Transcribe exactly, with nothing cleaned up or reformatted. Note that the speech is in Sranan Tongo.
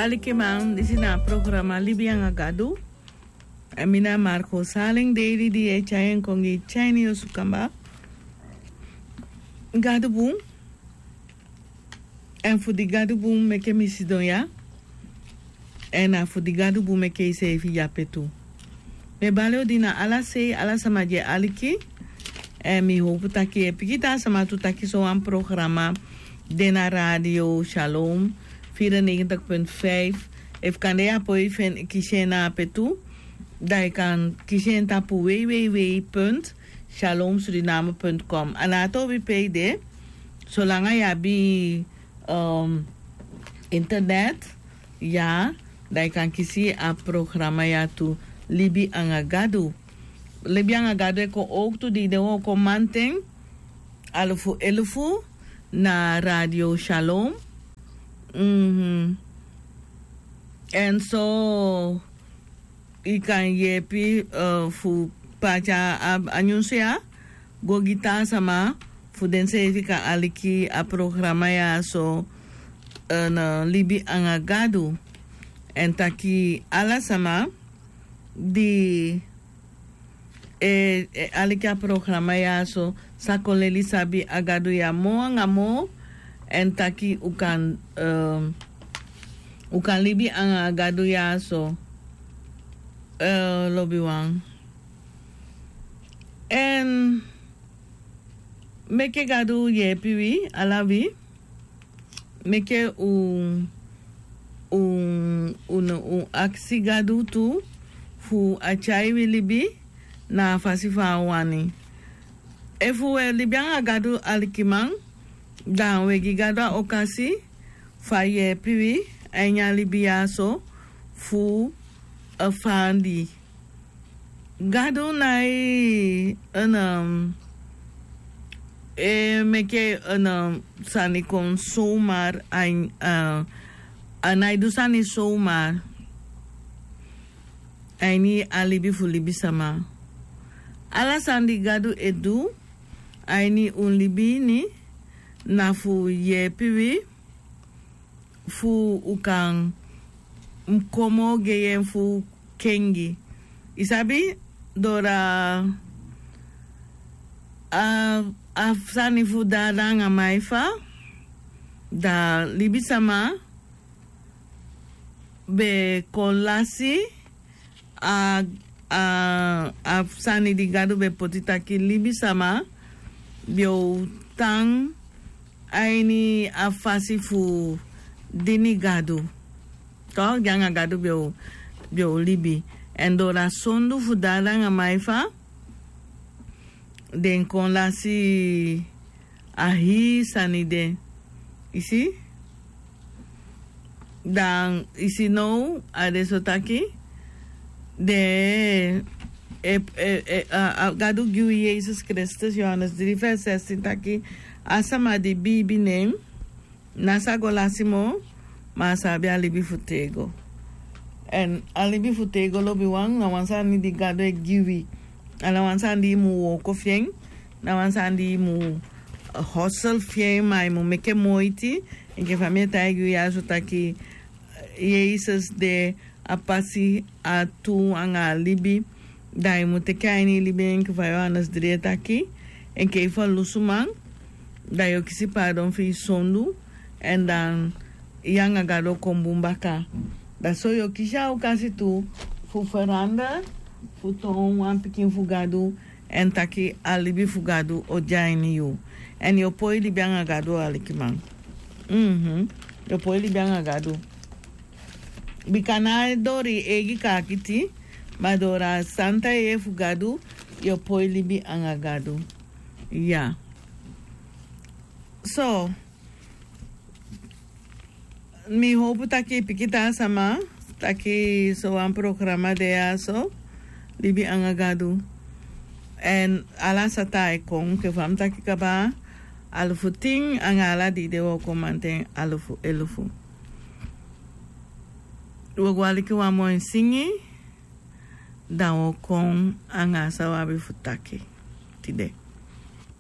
Alikiman, disi na a programa Libi anga Gadu. Èn mi na Marco Saleng Daily di e tyai en kon gi tyai ini yu osu kaba. Gadu bun. Èn fu di Gadu bun meke mi sidon ya. Èn na fu di Gadu bun meke iseefi de ape tu. Mi e bali odi na ala sei, ala sama di e aliki. Èn mi howpu taki e piki taa sama tu taki sowan programa de na Radio Shalom, vierennegentig punt vijf. Efu kande yu á poi feni kisi en na ape tu, dan yu kan kisi en tapu w w w punt shalom suriname punt com. A na a tobi pe i de, solanga yu abi, um, internet, ya, dan yu kan kisi a programa ya tu, Libi anga Gadu. Libi anga Gadu e kon owktu di i de wooko manten, alufu elufu, na Radio Shalom. Mhm. Èn so i kan yepi, eh, fu pati a, a nyunsu ya go gi taa sama fu denseefi kan aliki a programa ya so, eh, na Libi anga Gadu. Èn taki ala sama di e, e aliki a programa ya so sa kon leli sabi a Gadu ya moo anga moo. Èn taki u kan, ehm, u kan libi anga a Gadu ya so, eh, lobiwan. Èn meke Gadu yepi wi, ala wi. Meke u, u, u, u aksi Gadu tu fu a tyai wi libi na a fasi fa a wani. Efu wi e libi anga Gadu, alikiman, dan wi e gi Gadu a okasi fu a yepi wi a ini a libi ya so fu a fandi. Gadu nai, en, um, e meke, en, um, sani kon zomaar, a, a nai du sani zomaar a ini a libi fu libisama. Ala sani di Gadu e du a ini un libi ini na fu yepi wi fu u kan kon moo gei en fu kengi. I sabi, dora a, a sani fu dada anga maifa, da libisama be kon lasi a, a, a sani di Gadu be poti taki libisama be o tan a ini a fasi fu dini Gadu. Toch, di anga Gadu be o, be o libi. Èn dora sondu fu dada anga maifa, den kon lasi a hii sani de. I si? Dan i si now a de so taki den e, e, e, a, a Gadu gi wi Yesus Kristus, Johannes dri vers zestien taki a sama di biibi nen ná sa go lasi moo, ma a sa abi a libi fu tego. Èn a libi fu tego, lobiwan, na wan sani di Gadu e gi wi. A ná wan sani di i mu wooko fi en, ná wan sani di i mu, eh, hustle fi en, ma i mu meke moiti. Enke fa mi e taigi wi ya so taki, eh, Yesus de a pasi, a tru anga a libi. Dan i mu teki a ini i libi enke fa Johannes dri e taki. Enke i ferlusu man, dan yo kisi pardon fu i sondu, èn dan yu anga Gadu o kon bun baka. Dan so yo kisi a okasi tu fu verander, fu toon wan pikin fu Gadu, èn taki a libi fu Gadu o de a ini yu. Èn yo poi libi anga Gadu, alikiman. Mhm. Yo poi libi anga Gadu. Bika ná dori eigi kaakiti, ma dora santa yeye fu Gadu, yo poi libi anga Gadu. Ya. So, mi howpu taki i piki taa sama taki sowan programa de ya so, Libi anga Gadu. Èn ala sata e kon, enke fa mi taki kaba, alufu tin anga ala di de wooko manten alufu elufu. Wo go aliki wan moi singi, dan wo kon anga san wi abi fu taki tide.